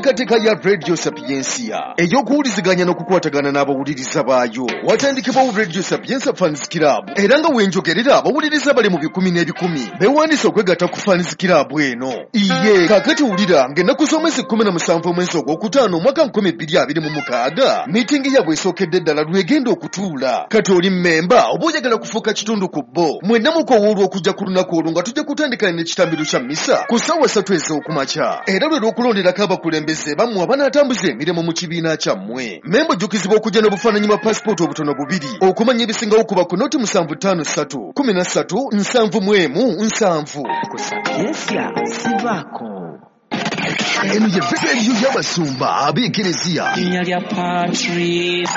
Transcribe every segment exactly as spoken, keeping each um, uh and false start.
Enteekateeka ya Radio Sapientia ey'okuwuliziganya n'okukwatagana n'abawuliriza baayo watandikibwawo Radio Sapientia Fans Club, era nga wenjogerera abawuliriza bali mu bikumi n'ebikumi beewandiise okwegatta ku Fans Club eno. Iye kaakati wulira ng'ennaku z'omwezi kkumi na musanvu omwezi ogwokutaano omwaka nkumi bbiri abiri mu mukaaga miitingi yaabwe esookedde ddala lwegenda okutuula. Kati oli mmemba oba oyagala kufuuka kitundu ku bo, mwenna mukowoolwa okujja ku lunaku olwo nga tujja kutandika n'ekitambiro kya mmisa ku ssaawa ssatu ez'okumakya, era lwe lw'okulonderako abakulembeze bammwe abanaatambuza emirimu mu kibiina kyammwe. Mmemba ojjukizibwa okujja n'obufaananyi bwa paasipooti obutono bubiri okumanya ebisingawo kuba ku noti musanvu ttaano ssatu kumi na ssatu nsanvu mu emu nsanvu. Ku Sapientia sivaako. Eno ye rediyo y'abasumba ab'Ekereziya Linnya lya Patrick.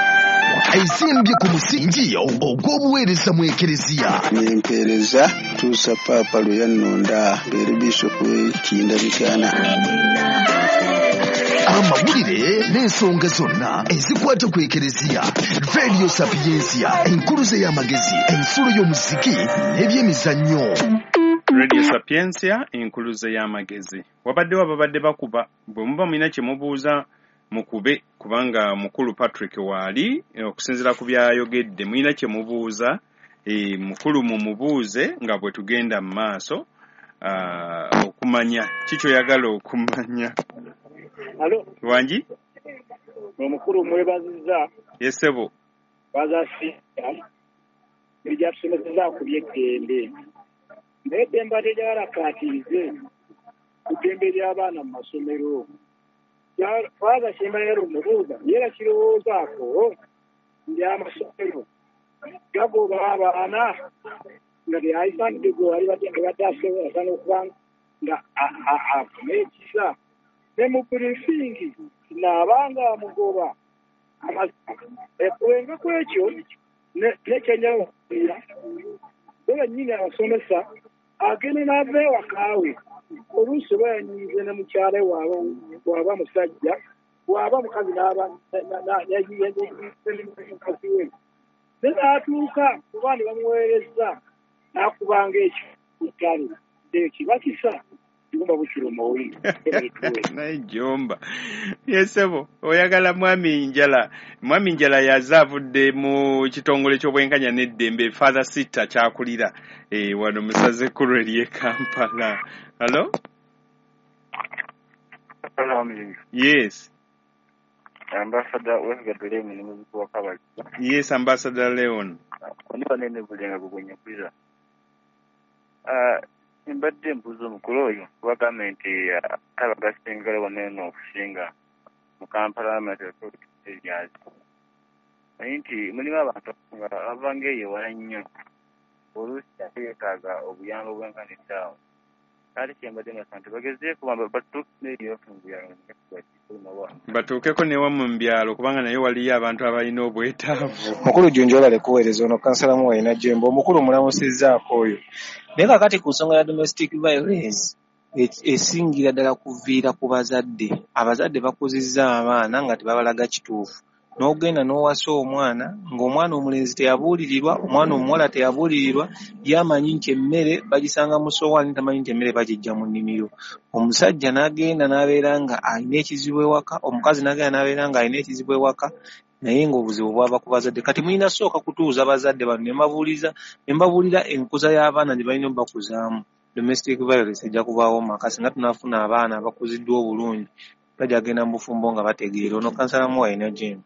Ezimbye ku musingi ogw'obuweereza mu Ekereziya. Nempeereza tuusa Paapa lwe yannonda mbeere bishopu w'e Kinda Mityana. Amawulire n'ensonga zonna ezikwata ku Ekereziya. Radio Sapientia, enkuluze y'amagezi, ensulo y'omuziki n'ebyemizannyo. Radio Sapientia, enkuluze y'amagezi. Wabaddewo ababadde bakuba, bwe muba mulina kye mubuuza mukube, kubanga mukulu Patrick waali okusinziira ku byayogedde. Mulina kye mubuuza, e, mukulu mumubuuze nga bwe tugenda mu maaso uh, okumanya ki kyoyagala okumanya. Alo, Wangi? Omukulu mwebazizza. Yesebo. Baza ebyatusomeseza ku by'eddembe. Naye eddembe ate lyalakaatirize ku ddembe ly'abaana mu masomero. Faaza kyembalera omubuuza, ye kirowoozaako nti amasomero gagoba abaana nga teyayisanidde gwe wali badde asobola okuba nga afuna ekisa ne mu briefing naabanga amugoba okuwenga ku ekyo nekyenjawulira bo bennyini abasomesa agenda n'ava ewakaawe oluusi oba yanyiize ne mukyala we bw'aba musajja, bw'aba mukazi n'aba mukazi we ne n'atuuka kuba ne bamuweereza n'akubanga ekyo ekyo kiba kisa jumba bukiruma oyi. Naye Jumba, yesebo, oyagala mwami Njala. Mwami Njala yaze avudde mu kitongole ky'obwenkanya n'eddembe, Father Sitta kyakulira e, wano musaze ekkulu ery'e Kampala. Hello? Yes. Ambassador Westgate Leon ni muziki wa Kabali. Yes, Ambassador Leon. Koniba nene bulenga gugwenye kwiza. Ah, mbadde mbuuza omukulu oyo kuba gavumenti ataba gasingala wano eno okusinga mu Kampala areas, naye nti mulimu abantu nga bava eyo ewala nnyo, oluusi ate yeetaaga obuyambi obwenkanidde awo. Ate kyembadde mbasaba nti bagezeeko batuuke n'eyo mu byalo. Batuukeko newammwe mu byalo, kubanga naye waliyo abantu abalina obwetaavu. Mukulu Junju, olale kuweereza. Ono kansala Muwalina Jemba. Omukulu mulamusizzaako oyo. Naye kakati ku nsonga ya domestic violence, esingira ddala kuviira ku bazadde. Abazadde bakuzizza abaana nga tebabalaga kituufu, n'ogenda n'owasa omwana ng'omwana omulenzi teyabuulirirwa, omwana omuwala teyabuulirirwa. Yamanyi nti emmere bagisanga mu sowaani, tamanyi nti emmere bagiggya mu nnimiro. Omusajja n'agenda n'abeera nga alina ekizibu ewaka, omukazi n'agenda n'abeera nga alina ekizibu ewaka, naye ng'obuzibu bwava ku bazadde. Kati mulina sooka kutuuza bazadde bano ne mbabuuliza ne mbabuulira enkuza y'abaana gye balina obbakuzaamu. Domestic violence ejja kubaawo mu maka singa tunaafuna abaana abakuziddwa obulungi, bajja genda mu bufumbo nga bategeera. Ono kansala Muwalina Jemba.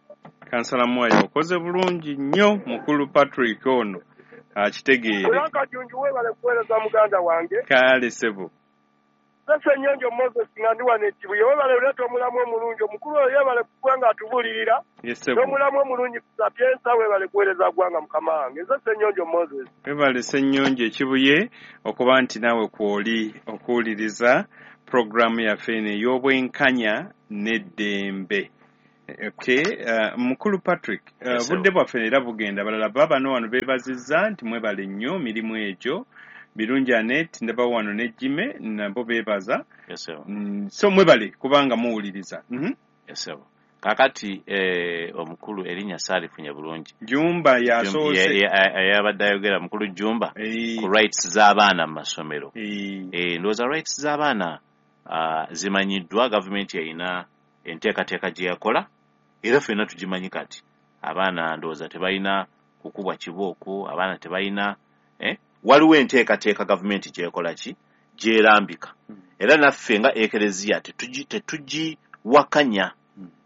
Kansala Mwayi, okoze bulungi nnyo. Mukulu Patrick ono akitegeere. Franka Junju, weebale kuweereza muganda wange. Kale sebo. Ssenyonjo Moses nga ndi wano e Kibuye, weebale oleeta omulamu omulungi. Omukulu oyo yeebale kuba nga atubuulirira Yesebo. n'omulamu omulungi ku Sapientia. Weebale kuweereza ggwanga mukama wange. Nze Ssenyonjo Moses. Webale Ssenyonjo Ekibuye okuba nti naawe kwoli okuwuliriza puroguramu yaffe eno ey'obwenkanya n'eddembe. Okay, uh, mukulu Patrick, uh, Yes, sir. budde bwaffe era bugenda. Balala babano wano beebazizza nti mwebale nnyo mirimu egyo. Birungi Anet ndaba wano ne Jime nabo beebaza. Yes, sir. Mm, so mwebale kubanga muwuliriza. mm -hmm. Yes, sir. Kakati eh, omukulu erinnya saalifunye bulungi. Jumba yasoose. Yabadde ayogera mukulu Jumba Eh, ku rights z'abaana mu masomero. eh, Eh, ndowooza rights z'abaana uh, zimanyiddwa gavumenti erina. Enteekateeka gye yakola era ffenna tugimanyi. Kati abaana ndowooza tebalina kukubwa kibooko, abaana tebalina eh? Waliwo enteekateeka gavumenti gyekola ki, gyerambika, era naffe nga ekereziya tetugiwakanya,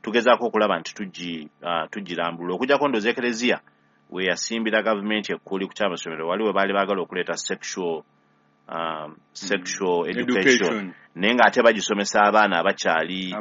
tugezaako okulaba nti tugi uh, tugirambulula. Okujjako ndowooza ekereziya we yasimbira gavumenti ekkuuli ku kyamasomero, waliwo baali baagala okuleeta sexual um, sexual education, naye ng'ate bagisomesa abaana abakyali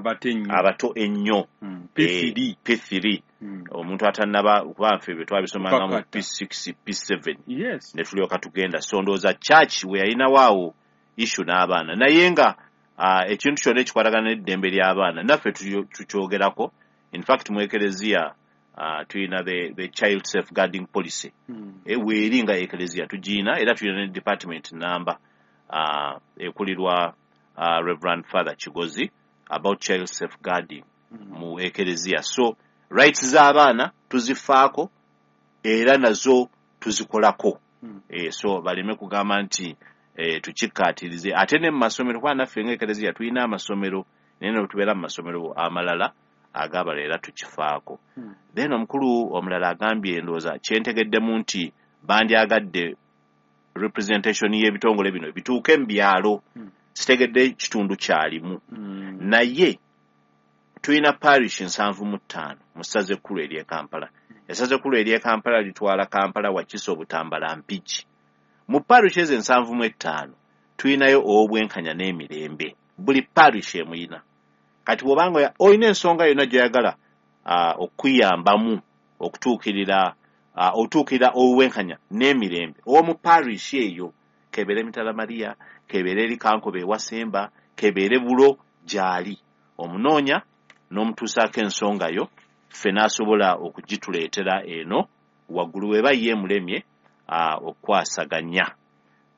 abato ennyo, P three, omuntu atannaba, kuba nfe bye twabisomanga mu P six, P seven, ne tulyoka tugenda. So ndowooza church we yalinawo awo issue n'abaana, naye nga uh, ekintu kyonna ekikwatagana n'eddembe ly'abaana naffe tukyogerako. In fact mu ekereziya uh, tulina the, the child safeguarding policy, mm. e, weeri nga ekereziya tugiina, era tulina ne department namba uh, ekulirwa uh, Reverend Father Kigozi about child safeguarding mm. mu ekereziya. So rights z'abaana tuzifaako era nazo tuzikolako. mm. E, so baleme kugamba nti e, tukikkaatirize. Ate ne mu masomero, kuba naffe nga ekereziya tulina amasomero, naye ne tubeera mu masomero amalala agabala era tukifaako. hmm. Then omukulu omulala agambye, ndowooza kyentegeddemu nti bandyagadde representation y'ebitongole bino bituuke mu byalo. hmm. Sitegedde kitundu kyalimu. hmm. Naye tulina parish nsanvu mu ttaano mu ssaza ekkulu ery'e Kampala. Essaza ekkulu ery'e Kampala litwala Kampala, Wakiso, Butambala, Mpigi. Mu parish ezo ensanvu mu ettaano tulinayo ow'obwenkanya n'emirembe, buli parish emuyina. Kati bw'obanga olina ensonga yonna gy'oyagala uh, okuyambamu okutuukirira uh, otuukirira obwenkanya n'emirembe ow'omu parish eyo, kebeere Mitala Maria, kebeere eri Kankobe ewasemba, kebeere Bulo, gy'ali omunoonya n'omutuusaako ensonga yo, ffe n'asobola okugituleetera eno waggulu weba ye mulemye uh, okukwasaganya.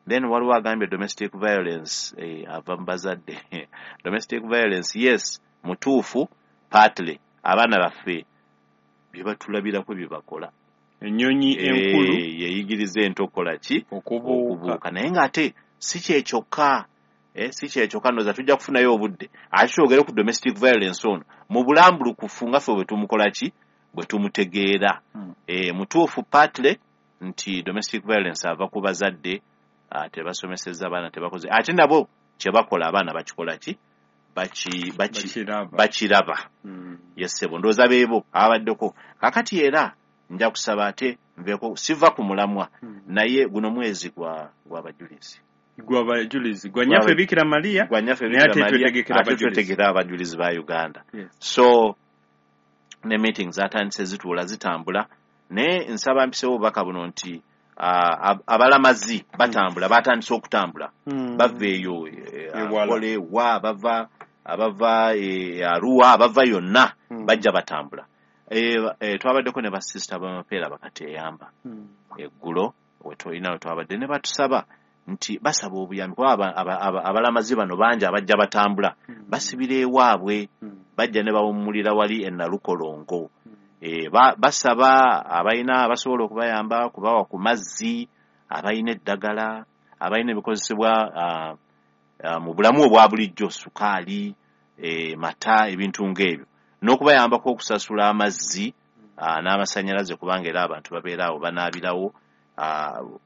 Then waliwo agambye domestic violence eh, ava mu bazadde. Domestic violence, yes, mutuufu partly abaana baffe bye batulabirako bye bakola. Ennyonyi enkulu yeyigiriza entokola ki, okubuuka. Naye ng'ate si kyekyokka, eh, si kyekyokka. Ndowooza tujja kufunayo obudde ate twogere ku domestic violence ono mu bulambulukufu nga ffe bwe tumukola ki, bwe tumutegeera. hmm. Eh, mutuufu partly nti domestic violence ava ku bazadde, tebasomesezza abaana, tebakoze, ate nabo kye bakola abaana bakikola ki, bakiraba. Yessebo, ndowooza beebo ababaddeko. Kakati era nja kusaba ate nveeko, siva ku mulamwa, naye guno mwezi gwa gwabajulizi gwabajulizi gwa Nnyaffe Bikira Maria, gwa Nnyaffe Bikira Maria, ate twetegekera abajulizi ba Uganda. So ne meetings zatandise, zituula zitambula, naye nsaba mpisewo obubaka buno nti Uh, abalamazi batambula, batandise okutambula, mm. bava eyo Ankole, wa bava abava e, Arua, abava yonna, mm. bajja batambula. E, e, twabaddeko ne basisita b'amapeera bakateeyamba mm. eggulo wetolina we twabadde ne batusaba nti basaba obuyambi, kuba abalamazi bano bangi abajja batambula, mm. basibira ewaabwe, mm. bajja ne bawummulira wali e Nalukolongo. mm. E, ba, basaba abalina abasobola okubayamba kubawa ku mazzi, abalina eddagala, abalina ebikozesebwa uh, uh, mu bulamu obwa bulijjo, sukaali, e, mata, ebintu ng'ebyo, n'okubayambako okusasula amazzi uh, n'amasannyalaze, kubanga era abantu babeera awo banaabirawo. Uh,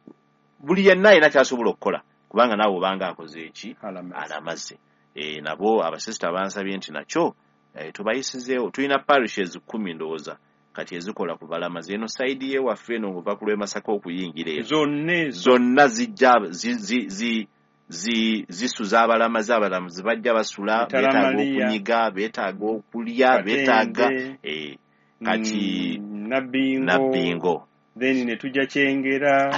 buli yenna alina ky'asobola okukola, kubanga naawe obanga akoze eki, alamaze. E, nabo abasisita bansabye nti nakyo Eh, tubayisizeewo. Tulina parishes kkumi ndowooza kati ezikola ku balamazi. Eno sayidi y'ewaffe eno ng'ova ku lw'e Masaka okuyingira eno zonna zijja zisuza abalamazi. Abalamazi bajja basula, beetaaga okunyiga, beetaaga okulya, beetaaga eh, kati Nabbingo, then ne tujja Kyengera,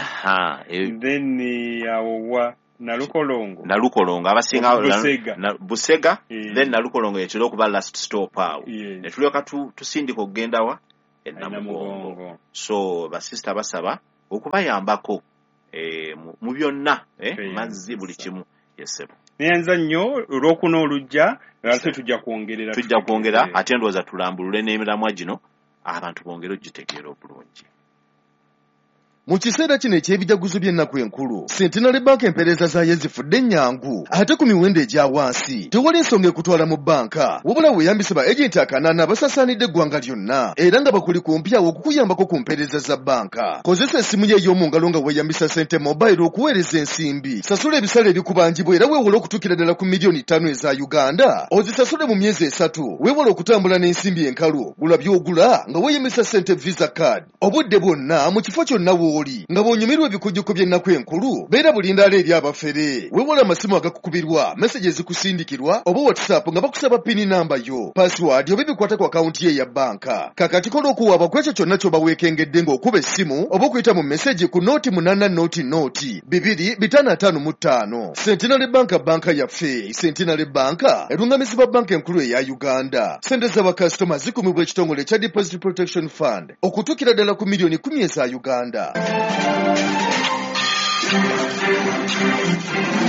then awo wa Nalukolongo, Nalukolongo abasinga Busega, na, Busega yeah. Then Nalukolongo yetera okuba last stop awo, yes. Ne tulyoka tusindika okugenda wa e Namugongo. So basisita basaba okubayambako eh, mu byonna, eh, mazzi, buli kimu. Yesebo, neyanza nnyo olwokuna olujja, ate tujja kwongerera, tujja kwongera ate ndowooza tulambulule n'emiramwa gino abantu bongere ogitegeera obulungi. Mu kiseera kino eky'ebijaguzo by'ennaku enkulu, Centenary Bank empeereza zaayo zifudde ennyangu ate ku miwendo egya wansi. Tewali nsonga ekutwala mu bbanka, wabula weeyambise ba agenti akanaana abasaasaanidde eggwanga lyonna era nga bakuli kumpi awo okukuyambako ku mpeereza za bbanka. Kozesa essimu yo ey'omu ngalo nga weeyambisa Sente Mobile okuweereza ensimbi. Sasula ebisale ebikubanjibwa era weewole okutuukira ddala ku miliyoni ttaano eza Uganda. Ozisasule mu myezi esatu. Weewale okutambula n'ensimbi enkalu. Gula by'ogula nga weeyambisa Sente Visa Card. Obudde bwonna mu kifo kyonna w'oli nga bw'onyumirwa ebikujjuko by'ennaku enkulu, beera bulindaala eri abafere. Weewale amasimu agakukubirwa, meseji ezikusindikirwa oba WhatsApp nga bakusaba pini namba yo, password oba ebikwata ku akawunti ye eya bbanka. Kakati kola okuwaaba ku ekyo kyonna ky'oba weekengedde ng'okuba essimu oba okuyita mu meseji ku nooti munaana nooti nooti bibiri bitaano ataano mu ttaano. Centenary Bank bbanka yaffe. Centenary Bank erungamizibwa bbanka enkulu eya Uganda. Ssente z'abakasitoma zikumibwa ekitongole ekya Deposit Protection Fund okutuukira ddala ku miliyoni kkumi eza Uganda.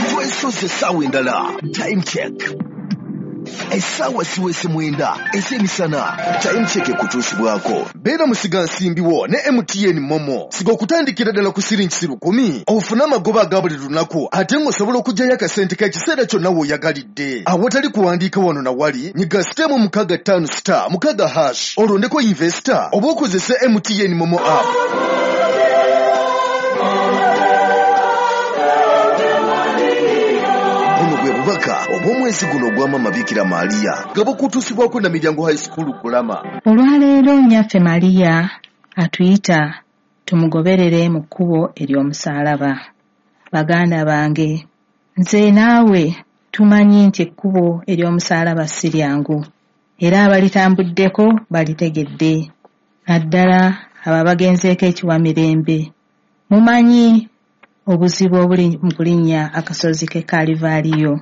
Twesoze essaawa endala. Time check. Essaawa siwese mwenda ez'emisana. Time check ekutuusibwako. Beera musigansimbi wo ne M T N Momo. Siga okutandikira ddala ku siringi lukumi ofune amagoba aga buli lunaku ate ng'osobola okuggyayo akasente k'ekiseera kyonna w'oyagalidde. Awatali kuwandiika wano na wali, nyiga star mu mukaaga ttaano star mukaaga hash olondeko investor oba okozese M T N Momo app. Bubaka obw'omwezi guno ogwa Maama Bikira Maria nga bukutuusibwako na Miryango High School Kulama. Olwaleero nnyaffe Maria atuyita tumugoberere mu kkubo ery'omusaalaba. Baganda bange, nze naawe tumanyi nti ekkubo ery'omusaalaba si lyangu, era abalitambuddeko balitegedde, naddala abo abagenzeeko ekiwamirembe. Mumanyi obuzibu obuli mu kulinnya akasozi k'e Kalivaaliyo.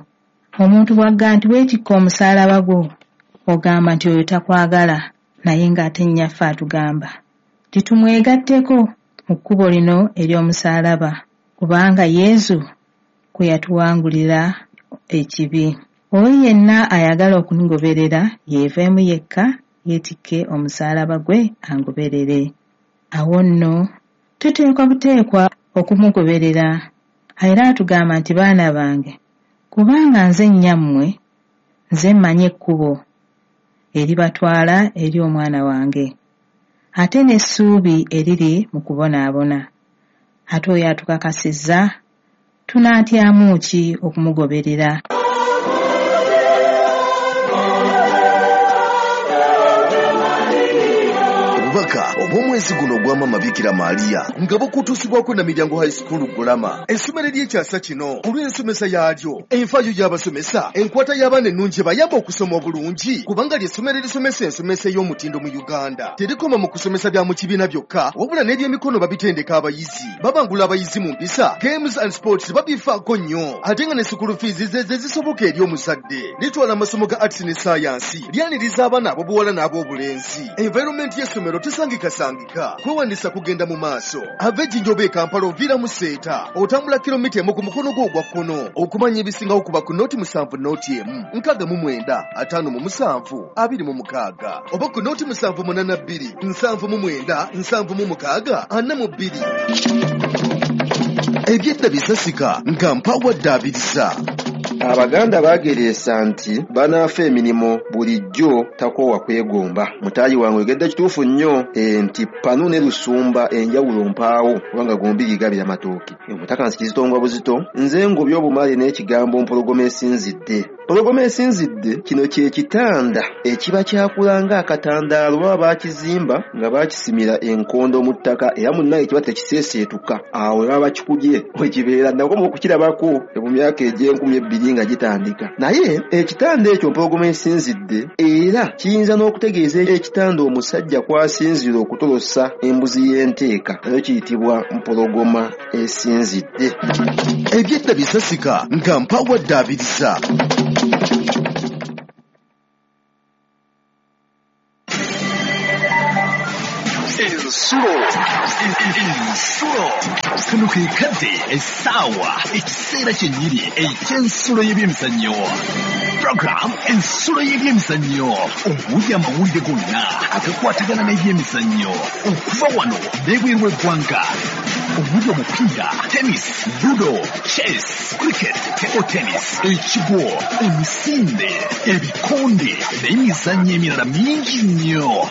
Omuntu bw'agamba nti weetikka omusaalaba gwo, ogamba nti oyo takwagala, naye ng'ate nnyaffe atugamba titumwegatteko mu kkubo lino ery'omusaalaba, kubanga Yesu kwe yatuwangulira ekibi. Oyo yenna ayagala okungoberera yeeveemu yekka, yeetikke omusaalaba gwe angoberere. Awo nno tuteekwa buteekwa okumugoberera. Era atugamba nti baana bange, kubanga nze nnyammwe, nze mmanyi ekkubo eribatwala eri omwana wange, ate n'essuubi eriri mu kubonaabona. Ate oyo atukakasizza, tunaatyamu ki okumugoberera? Obubaka obw'omwezi guno ogwa Maama Bikira Maria nga bukutuusibwako na Miryango High School Kulama. Essomero ery'ekyasa kino olw'ensomesa yaalyo, enfaayo y'abasomesa, enkwata y'abaana ennungi ebayamba okusoma obulungi, kubanga ly'essomero erisomesa ensomesa ey'omutindo mu Uganda. Terikoma mu kusomesa bya mu kibiina byokka, wabula n'ebyemikono babitendeka abayizi. Babangula abayizi mu mpisa, games and sports babifaako nnyo, ate nga ne school fees ze ze zisoboka eri omuzadde. Litwala amasomo ga arts ne science, lyaniriza abaana ab'obuwala n'ab'obulenzi. Environment y'essomero tesangikasangika. Kwewandiisa kugenda mu maaso. Ava Ejjinja oba e Kampala oviira mu Seeta, otambula kilomita emu ku mukono gwo ogwa kkono. Okumanya ebisingawo kuba ku nooti musanvu nooti emu nkaaga mu mwenda ataano mu musanvu abiri mu mukaaga oba ku nooti musanvu munaana bbiri nsanvu mu mwenda nsanvu mu mukaaga ana mu bbiri. Ebyedda bisasika nga mpawadde abiriza. Abaganda baagereesa nti banaafa emirimu bulijjo takoowa kwegomba. Mutaayi wange oyogedde kituufu nnyo nti panu ne lusumba enjawulo mpaawo kubanga gombi gigabira matooke. Omutaka nsikizitongwa buzito nze ngobye obumale n'ekigambo mpologoma esinzidde. Mpologoma esinzidde kino kye kitanda ekiba kyakula ng'akatandaalo baba baakizimba nga baakisimira enkondo mu ttaka era munnaye kiba tekiseeseetuka. Awo baba bakikubye we kibeera nakoma okukirabako mu myaka egy'enkumi ebbiri nga gitandika. Naye ekitanda ekyo mpologoma esinzidde era kiyinza n'okutegeeza ekitanda omusajja kw'asinziira okutolosa embuzi y'enteeka nayo kiyitibwa mpologoma esinzidde. Ebyedda bisasika nga mpawadde abiriza. Ensulo, ensulo, kano ke kadde, essaawa, ekiseera kyennyini eky'ensulo y'ebyemizannyo. Program Ensulo y'ebyemizannyo, omuli amawulire gonna agakwatagana n'ebyemizannyo okuva wano n'ebweru w'eggwanga, omuli omupiira, tennis, ludo, chess, cricket, table tennis, ekigwo, emisinde, ebikonde n'emizannyo emirala mingi nnyo.